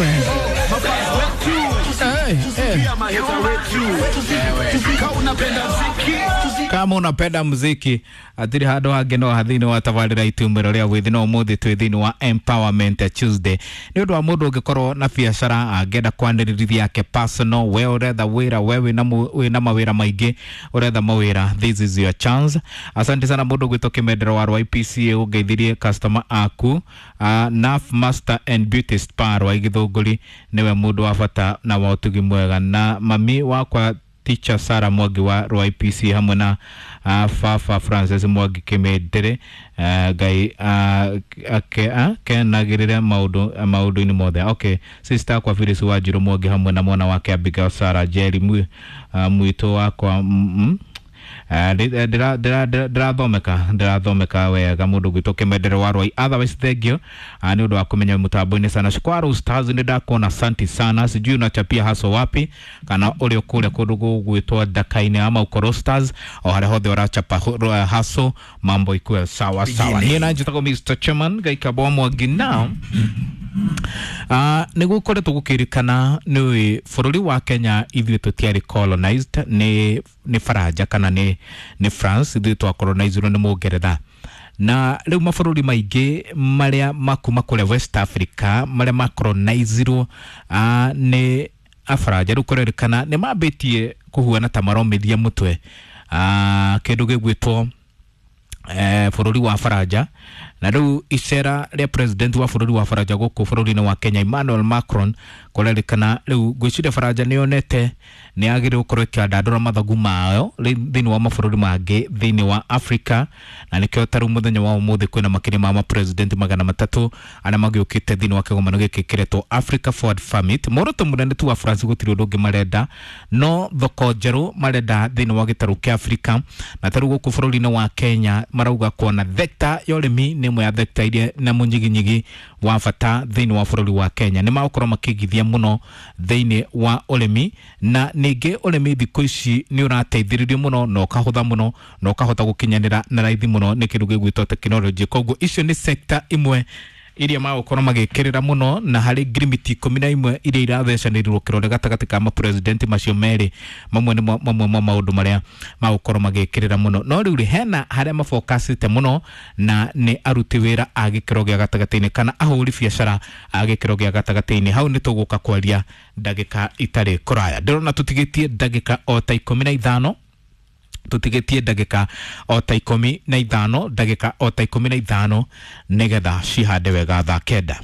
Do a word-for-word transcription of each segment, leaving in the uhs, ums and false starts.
Eh, eh. Kama unapenda muziki atiri handu hangi no hathini wa tabarira itumiro ria withi no umuthi twi thiini wa Empowerment Tuesday. Ni undu wa mundu ungikorwo na biacara angenda kwanĩrĩria yake personal, we uretha wira, we wina wina mawira maingi, uretha mawira, this is your chance. Asante sana mundu gwitwo Kimendero wa R Y P C A, ungeithirie customer aku. uh, Naf Master and Beauty Spa rwa Githunguri, niwe mundu wa bata na wa utugi mwega, na mami wakwa Teacher Sarah Mwangi wa R Y P C hamwe na uh, Fafa Francis Mwangi Kimendere, uh, Ngai uh, ake uh, kenagirire maundu maundu-inĩ mothe. Okay, sister kwa Phyllis Wanjiru Mwangi hamwe na mwana wake Abigail Sarah Jerry mwi uh, mwito wakwa mm, ndĩrathomeka ndĩrathomeka wega mũndũ gwitũ Kĩmendero wa Rwai. Otherwise thank you nĩ ũndũ wa kũmenya mũtambo-inĩ sana. Shukwaru Stars, nĩ ndakuona, asante sana. Sijui unachapia haso wapi, kana ũrĩ kũrĩa kũndũ gũgwĩtwo Ndaka-inĩ ama Ukoro Stars, o harĩa hothe ũrachapa haso, mambo ikuwe sawa sawa. Niĩ na njĩtagwo Mister Chairman Gaikabo Mwangi. Now Uh, nä gå koretwo gå kä rikana nä bå rå ri wa Kenya ithuä tå tiarä colonized nä nä Faranja kana nä nä France, ithuä twacolonizirwo nä må Ngeretha. Na rä u mabå rå ri maingä marĩa makuma kũrĩa West Africa marĩa macolonizirwo uh, nĩ Afaranja, rä u kũrerĩkana nĩ mambĩtie kũhuana ta maromithia mũtwe uh, kĩndũ gĩgwĩtwo eh, bũrũri wa Faranja. Na rĩu icera rĩa president wa bũrũri wa Faranja gũkũ bũrũri-inĩ wa Kenya, Emmanuel Macron, kũrerĩkana rĩu ngwĩciria Faranja nĩ yonete nĩ yagĩrĩirwo gũkorwo ĩkĩandandũra mathagu mayo thĩinĩ wa mabũrũri mangĩ thĩinĩ wa Africa. Na nĩkĩo ta rĩu mũthenya wa ũmũthĩ kwĩna makĩria ma mapresident magana matatũ arĩa magĩũkĩte thĩinĩ wa kĩgomano gĩkĩ kĩretwo Africa Forward Summit. Muoroto mũnene tu wa France gũtirĩ ũndũ ũngĩ marenda no thoko njerũ marenda thĩinĩ wa gĩtarũ kĩa Africa. Na ta rĩu gũkũ bũrũri-inĩ wa Kenya marauga kuona thekta ya ũrĩmi nĩ ĩmwe ya thekta iria na mũnyiginyigi wa bata thĩinĩ wa bũrũri wa Kenya. Nĩ magũkorwo makĩigithia mũno thĩinĩ wa ũrĩmi, na ningĩ ũrĩmi thikũ ici nĩ ũrateithĩrĩrio mũno na ũkahũtha mũno na ũkahota gũkinyanĩra na raithi mũno nĩ kĩndũ gĩgwĩtwo tekinoronjĩ. Koguo icio nĩ sekta imwe iria magũkorwo magĩkĩrĩra mũno, na harĩ ngirimiti ikũmi na imwe iria irathecanĩrirwo kĩrore gatagatĩ ka mapresidenti macio merĩ, mamwe nĩ mamwe ma maũndũ marĩa magũkorwo magĩkĩrĩra mũno. No rĩu rĩ, hena harĩa mabokacĩte mũno, na nĩ aruti wĩra a gĩkĩro gĩa gatagatĩ-inĩ kana ahũri biacara a gĩkĩro gĩa gatagatĩ-inĩ. Hau nĩ tũgũka kwaria ndagĩka itarĩ kũraya. Ndĩrona tũtigĩtie ndagĩka o ta ikũmi na ithano, tũtigĩtie ndagĩka o ta ikũmi na ithano, ndagĩka o ta ikũmi na ithano nĩgetha cihande wega thaa kenda,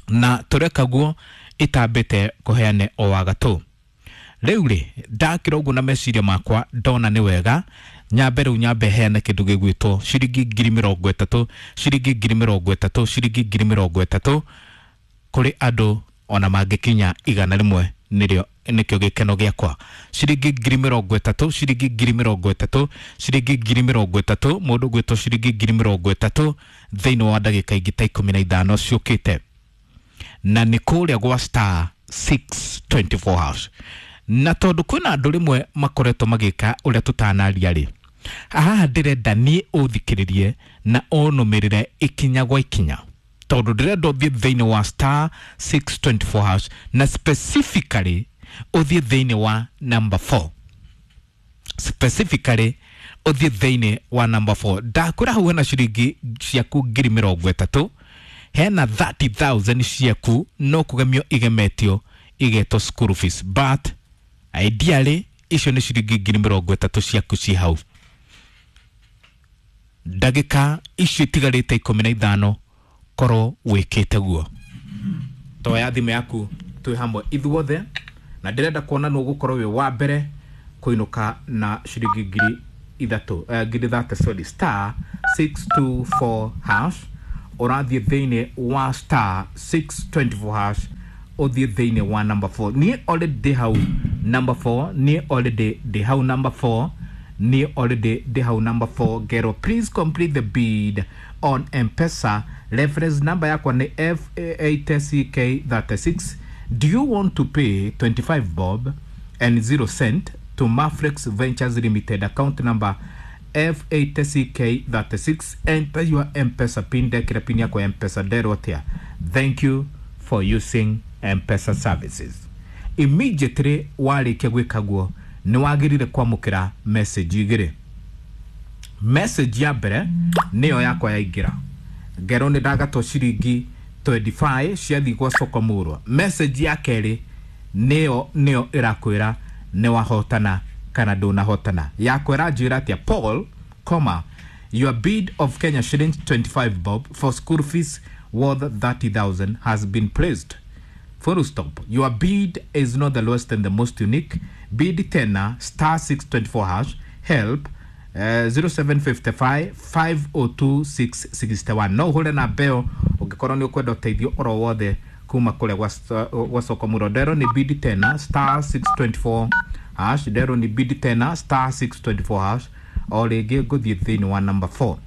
na tũreka guo itambĩte kũheane o wagatũ. Rĩu rĩ, ndakĩra ũguo na meciria makwa ndona nĩ wega nyambe rĩu nyambe heane kĩndũ gĩgwĩtwo ciringi ngiri mĩrongo ĩtatũ, ciringi ngiri mĩrongo ĩtatũ, ciringi ngiri mĩrongo ĩtatũ kũrĩ andũ ona mangĩkinya igana rĩmwe, nĩrĩo nĩkĩo gĩkeno gĩakwa. Ciringi ngiri mĩrongo ĩtatũ, ciringi ngiri mĩrongo ĩtatũ, ciringi ngiri mĩrongo ĩtatũ, mũndũ gwĩtwo ciringi ngiri mĩrongo ĩtatũ thĩinĩ wa ndagĩka ingĩ ta ikũmi na ithano ciũkĩte, na nĩ kũrĩa gwa star six two four hash. Na tondũ kwĩna andũ rĩmwe makoretwo magĩka ũrĩa tũtanaria rĩ, haha ndĩrenda niĩ ũthikĩrĩrie na ũnũmĩrĩre ikinya gwa ikinya, tondũ ndĩrenda ũthiĩ thĩinĩ wa star six two four hash na specifically ũthiĩ thĩinĩ wa number four, specifically ũthiĩ thĩinĩ wa number four. Ndakwĩra hau hena ciringi ciaku ngiri mĩrongo ĩtatũ, hena thirty thousand ciaku no kũgemio igemetio igetwo school fees, but ideally icio nĩ ciringi ngiri mĩrongo ĩtatũ ciaku ci hau. Ndagĩka icio itigarĩte ikũmi na ithano korwo wĩkĩte guo, toya thimũ yaku twĩ hamwe ithuothe, na ndĩrenda kuona nũ ũgũkorwo wĩ wa mbere kũinũka na ciringi ngiri ithatũ, uh, ngiri thate, sorry. Star six two four hash, ũrathiĩ thĩinĩ wa star six two four hash, ũthiĩ thĩinĩ wa number four. Niĩ already ndĩ hau number four, niĩ already ndĩ hau number four, niĩ already ndĩ hau number four. Ngero please complete the bid on M-Pesa, reference number yakwa nĩ F eight C K thirty-six. Do you want to pay twenty-five bob and zero cent to Mafrex Ventures Limited, account number F eight C K thirty-six? Enter your M-Pesa PIN. Ndekĩra PIN yakwa ya M-Pesa, nderwo atĩa? Thank you for using M-Pesa services. Immediately warĩkia gwĩka guo nĩ wagĩrĩire kwamũkĩra message igĩrĩ. Message ya mbere nĩyo yakwa yaingĩra, ngerwo nĩ ndagatwo ciringi twenty-five ciathiĩ gwa soko mũrwa. Message ya kerĩ nĩyo nĩyo ĩrakwĩra nĩ wahotana kana ndũnahotana. Yakwĩra njĩra atĩa? Paul, comma, your bid of Kenya shillings twenty-five bob for school fees worth thirty thousand has been placed. Full stop. Your bid is not the lowest and the most unique. Bid tena star six twenty-four hash help uh, zero seven five five five oh two six six one. No hule na beo ũngĩkorwo nĩ ũkwenda ũteithio oro wothe kuma kũrĩa gwa soko mũrwa. Ndero nĩ bid tena star six twenty-four hash. Ndero nĩ bid tena star six twenty-four hash. O rĩngĩ ngũthiĩ thĩinĩ wa number four.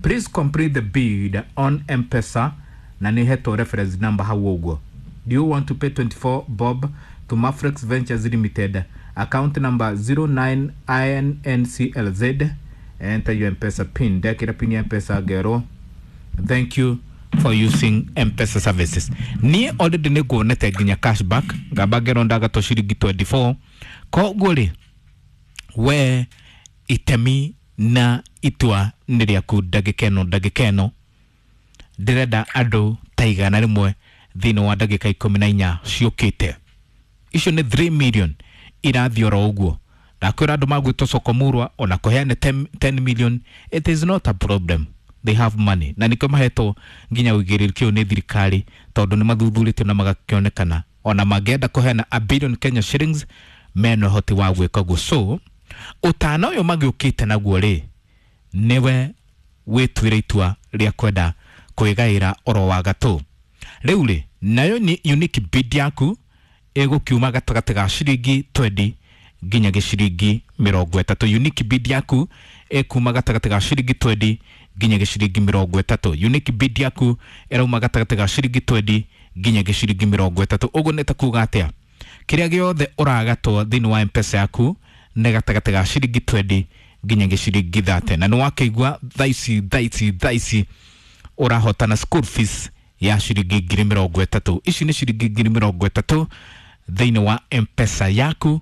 Please complete the bid on M-Pesa na nĩ hetwo reference number hau ũguo. Do you want to pay twenty-four bob to Mafrex Ventures Limited? Account number zero nine I N N C L Z. Enter your M-Pesa pin. Ndekĩra pin ya M-Pesa ngero. Thank you for using M-Pesa services. Niĩ already nĩ nguonete nginya cashback ngamba ngero ndagatwo ciringi twenty-four. Koguo rĩ, we itemi na itua nĩ rĩaku ndagĩka ĩno ndagĩka ĩno ndĩrenda andũ ta igana rĩmwe thĩinĩ wa ndagĩka ikũmi na inya ciũkĩte. Icio nĩ three million irathiĩ oro ũguo. Ndakwĩra andũ magwĩtwo soko mũrwa ona kũheane ten million, it is not a problem. They have money na nĩkĩo mahetwo nginya ũigĩrĩrĩki ũyũ nĩ thirikari tondũ nĩ mathuthurĩtio na magakĩonekana ona mangĩenda kũheana a billion Kenya shillings mena ũhoti wa gwĩka ũguo. So ũtana ũyũ magĩũkĩte naguo rĩ, nĩwe wĩtuĩre itua rĩa kwenda kwĩgaĩra oro wa gatũ. Rĩu rĩ, nayo ni unique bid yaku ĩgũkiuma gatagatĩ ga ciringi twenty nginya gĩciringi mĩrongo ĩtatũ. Unique bid yaku ĩkuma gatagatĩ ga ciringi twenty nginya gĩciringi mĩrongo ĩtatũ. Unique bid yaku ĩrauma gatagatĩ ga ciringi twenty nginya gĩciringi mĩrongo ĩtatũ. Ũguo nĩ ta kuga atĩa? Kĩrĩa gĩothe ũragatwo thĩinĩ wa M-Pesa yaku nĩ gatagatĩ ga ciringi twenty nginya gĩciringi thirty. Na nĩ wakĩigua thaa ici thaa ici thaa ici ũrahotana school fees ya ciringi ngiri mĩrongo ĩtatũ. Ici nĩ ciringi ngiri mĩrongo ĩtatũ thĩinĩ wa M-Pesa yaku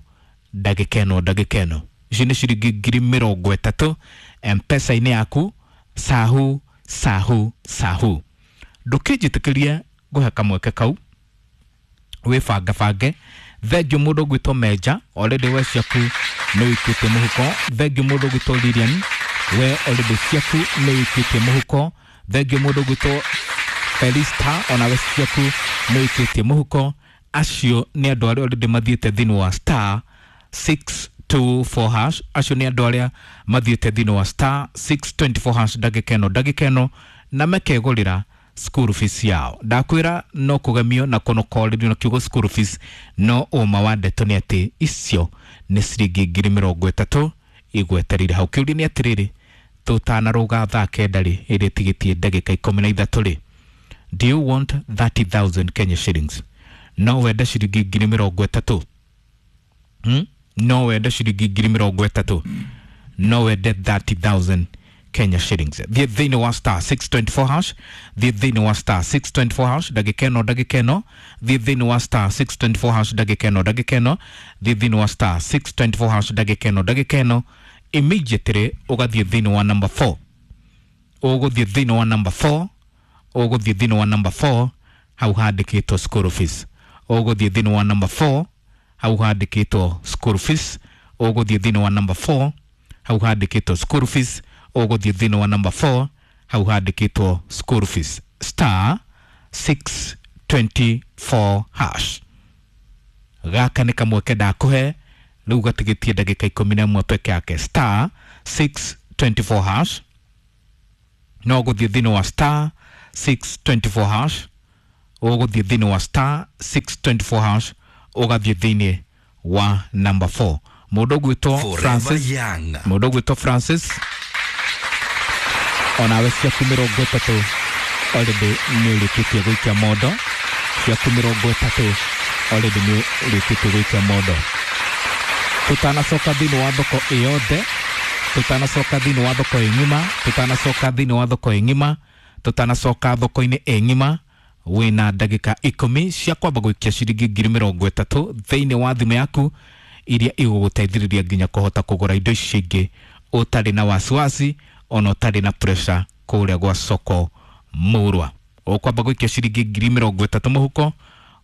ndagĩka ĩno ndagĩka ĩno. Ici nĩ ciringi ngiri mĩrongo ĩtatũ M-Pesa-inĩ yaku sahu sahu sahu. Ndũkĩnjĩtĩkĩrie ngũhe kamweke kau wĩbangabange. Thengiũ mũndũ ũgwĩtwo Meja, already we ciaku nĩ wĩikĩtie mũhuko. Thengiũ mũndũ ũgwĩtwo Lilian, we already ciaku nĩ wĩikĩtie mũhuko. Thengiũ mũndũ ũgwĩtwo Felista, onawe ciaku nĩ wĩikĩtie mũhuko. Acio nĩ andũ arĩa already mathiĩte thĩinĩ wa star six two four hash. Acio nĩ andũ arĩa mathiĩte thĩinĩ wa star six twenty-four hash ndagĩka ĩno ndagĩka ĩno na makegũrĩra school fees yao. Ndakwĩra no kũgemio na kũnokorĩrio na kiugo school fees, no ũma wa ndeto nĩ atĩ icio nĩ ciringi ngiri mĩrongo ĩtatũ igwetereire hau. Kĩũria nĩ atĩrĩrĩ, tũtanarũga thaa kenda rĩ, ĩrĩa ĩtigĩtie ndagĩka ikũmi na ithatũ rĩ, do you want thirty thousand Kenya shillings? No wende ciringi ngiri mĩrongo ĩtatũ? Hmm? No wende ciringi ngiri mĩrongo ĩtatũ? No wende thirty thousand Kenya shillings? Thiĩ thĩinĩ wa star six twenty-four hash. Thiĩ thĩinĩ wa star six twenty-four hash ndagĩka ĩno ndagĩka ĩno. Thiĩ thĩinĩ wa star six twenty-four hash ndagĩka ĩno ndagĩka ĩno. Thiĩ thĩinĩ wa star six twenty-four hash ndagĩka ĩno ndagĩka ĩno. Immediately ũgathiĩ thĩinĩ wa number four. Ũgũthiĩ thĩinĩ wa number four. Ũgũthiĩ thĩinĩ wa number four hau handĩkĩtwo school fees. Ũgũthiĩ thĩinĩ wa number four hau handĩkĩtwo school fees. Ũgũthiĩ thĩinĩ wa number four hau handĩkĩtwo school fees. Ũgũthiĩ thĩinĩ wa number four hau handĩkĩtwo school fees star six twenty-four hash. Gaka nĩ kamweke ndakũhe rĩu gatigĩtie ndagĩka ikũmi na ĩmwe peke yake. Star six twenty-four hash. No ũgũthiĩ thĩinĩ wa star six twenty-four hash. Ũgũthiĩ thĩinĩ wa star six twenty-four hash ũgathiĩ thĩinĩ wa number four. Mũndũ ũgwĩtwo Francis, mũndũ ũgwĩtwo Francis, onawe ciaku mĩrongo ĩtatũ already nĩ ũrĩkĩtie gũikia mondo. Ciaku mĩrongo ĩtatũ already nĩ ũrĩkĩtie gũikia mondo. Tũtanacoka thĩinĩ wa thoko ĩyothe, tũtanacoka thĩinĩ wa thoko ĩ ng'ima, tũtanacoka thĩinĩ wa thoko ĩ ng'ima, tũtanacoka thoko-inĩ ĩ ng'ima, Wĩna ndagĩka ikũmi cia kwamba gũikia ciringi ngiri mĩrongo ĩtatũ thĩinĩ wa thimũ yaku iria igũgũteithĩrĩria nginya kũhota kũgũra indo ici ingĩ ũtarĩ na wasiwasi ona ũtarĩ na pressure kũrĩa gwa soko murwa. Ũkwamba gũikia ciringi ngiri mĩrongo ĩtatũ mũhuko,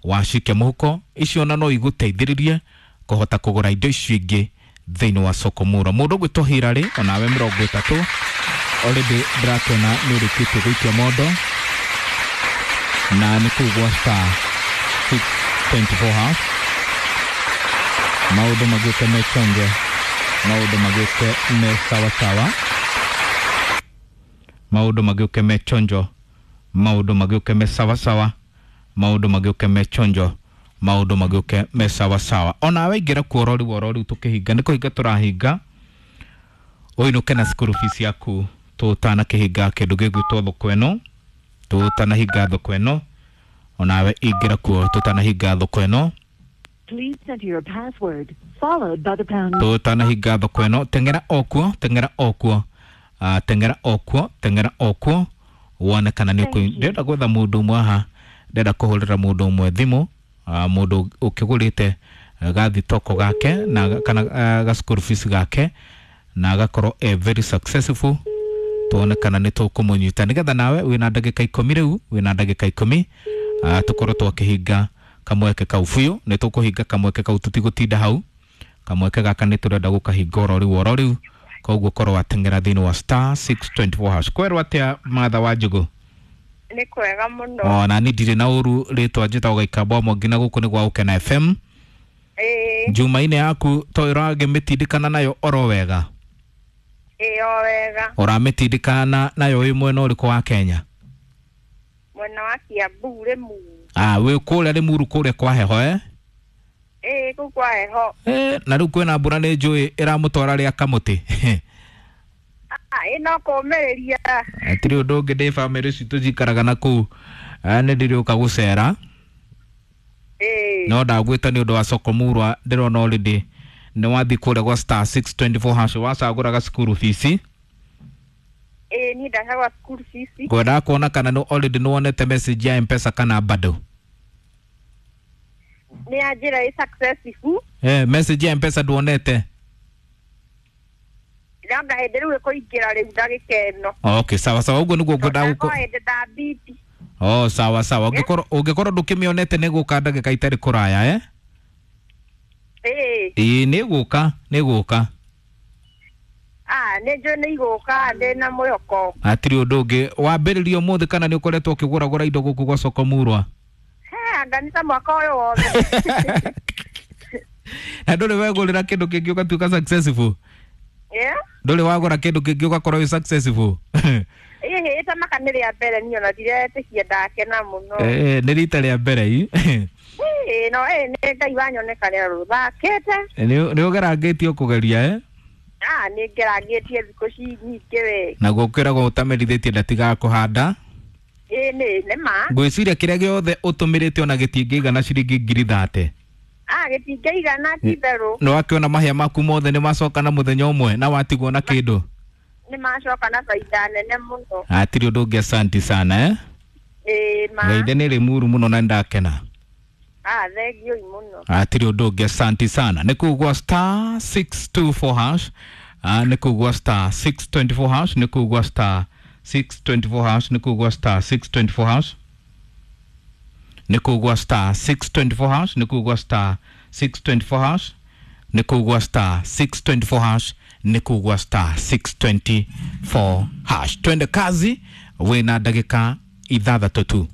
wacikia mũhuko icio ona no igũteithĩrĩrie kũhota kũgũra indo icio ingĩ thĩinĩ wa soko murwa. Mũndũ ũgwĩtwo Hilary onawe mĩrongo ĩtatũ already ndĩrakĩona nĩ ũrĩkĩtie gũikia mondo na nĩ kũu gwa star six twenty four hash. Maũndũ magĩũke me chonge, maũndũ magĩũke me sawasawa, maũndũ magĩũke me chonjo, maũndũ magĩũke me sawasawa, maũndũ magĩũke me chonjo, maũndũ magĩũke me sawasawa. Onawe ingĩra kuo ororiu ororiu tũkĩhinga, nĩ kũhinga tũrahinga, ũinũke na school fees yaku tũtanakĩhinga kĩndũ gĩgwĩtwo thoko ĩno, tũtanahinga thoko ĩno. Onawe ingĩra kuo tũtanahinga thoko ĩno. Please enter your password followed by the pound. Tũtanahinga thoko ĩno, teng'era okuo, teng'era okuo, uh, teng'era okuo, teng'era okuo wone kana nĩ ũkũ. Ndĩrenda gwetha mũndũ ũmwe haha, ndĩrenda kũhũrĩra mũndũ ũmwe thimũ, uh, mũndũ ũkĩgũrĩte gathitoko gake na kana uh, ga school fees gake na agakorwo e very successful, tuone kana nĩ tũkũmũnyita nĩgetha nawe wĩna ndagĩka ikũmi rĩu, wĩna ndagĩka ikũmi uh, tũkorwo twakĩhinga kamweke kau biũ. Nĩ tũkũhinga kamweke kau, tũtigũtinda hau. Kamweke gaka nĩ tũrenda gũkahinga oro rĩu oro rĩu, koguo korwo wateng'era thĩinĩ wa star six twenty four hash. Kwerwo atĩa Martha wa Njũgũ? Nĩ kwega mũno. Ona ni ndirĩ na ũru, rĩtwa njĩtagwo Gaikamba wa Mwangi na gũkũ nĩ gwa Gũkena F M. Ĩĩ. Njumaine yaku to ĩragĩmĩtindĩkana nayo oro wega? Ĩĩ o wega. Ũramĩtindĩkana nayo wĩ mwena ũrĩkũ wa Kenya? Mwena wa Kiambu Limuru. Ah, wĩ kũrĩa Limuru kũrĩa kwa heho eh? Ĩĩ kũu kwa heho. Eh, na rĩu kwĩna mbura nĩ njũĩ ĩramũtwara rĩa kamũtĩ. Ah, ĩ no kũũmĩrĩria. Hatirĩ ũndũ ũngĩ, ndĩ bamĩrĩ citũ njikaraga na kũu, nĩ ndĩrĩũka gũcera. Ĩĩ. No ndagwĩta nĩ ũndũ wa soko murwa, ndĩrona already nĩ wathiĩ kũrĩa gwa star six twenty four hash wacagũraga school fees. Ĩĩ niĩ ndacagũra school fees. Ngwendaga kuona kana nĩ already nĩ wonete message ya M-Pesa kana bado. Nĩ yanjĩra ĩ successful. Eh, message ya M-Pesa nduonete? Ndĩrona hĩndĩ rĩu ĩkũingĩra rĩu ndagĩka ĩno. Okay, sawa sawa, ũguo nĩguo ngwendaga gũkũ. Hĩndĩ ndambiti. Oh, sawa sawa. Ũngĩkorwo ũngĩkorwo ndũkĩmĩonete nĩ gũka ndagĩka itarĩ kũraya eh? Ĩĩ. Ĩĩ nĩ gũka, nĩ gũka. Ah, nĩ njũĩ nĩ igũka, ndĩ na mwĩhoko. Hatirĩ ũndũ ũngĩ. Wambĩrĩria ũmũthĩ kana nĩ ũkoretwo ũkĩgũragũra indo gũkũ gwa soko murwa? He, anga nĩ ta mwaka ũyũ wothe. Na ndũrĩ wegũrĩra kĩndũ kĩngĩ ũgatuĩka successful? Yeah. Ndũrĩ wagũra kĩndũ kĩngĩ ũgakorwo wĩ successful? Ĩhĩ, ta maka nĩ rĩa mbere niĩ ona ndiretĩkia ndakena mũno. Eh, nĩ rita rĩa mbere i. Ĩĩ, no ĩ nĩ Ngai wanyoneka rĩo rũthakĩte. Nĩ ũgerangĩtio kũgeria eh? Ah, nĩ ngerangĩtie thikũ ci nyingĩ we. Naguo kwĩragwo ũtamerithĩtie ndatigaga kũhanda. Ĩĩ nĩ nĩ ma. Ngwĩciria kĩrĩa gĩothe ũtũmĩrĩte ona gĩtingĩigana ciringi ngiri thate. Ah, gĩtingĩigana ti itherũ. Nĩ wakĩona mahĩa maku mothe nĩ macoka na mũthenya ũmwe na watigwo na kĩndũ. Nĩ macoka na baida nene mũno. Hatirĩ ũndũ ũngĩ, asanti sana eh? Ĩĩ ma. Ngeithe nĩ Limuru mũno na nĩndakena. Ah, thengiũ mũno. Hatirĩ ũndũ ũngĩ, asanti sana. Nĩ kũu gwa star six two four hash. Ah, nĩ kũu gwa star six twenty four hash, nĩ kũu gwa star six twenty four hash, nĩ kũu gwa star six twenty four hash. Nĩ kũu gwa star six twenty four hash, nĩ kũu gwa star six twenty four hash, nĩ kũu gwa star six twenty four hash, nĩ kũu gwa star six twenty four hash. Twende kazi, wĩna ndagĩka ithathatũ tu.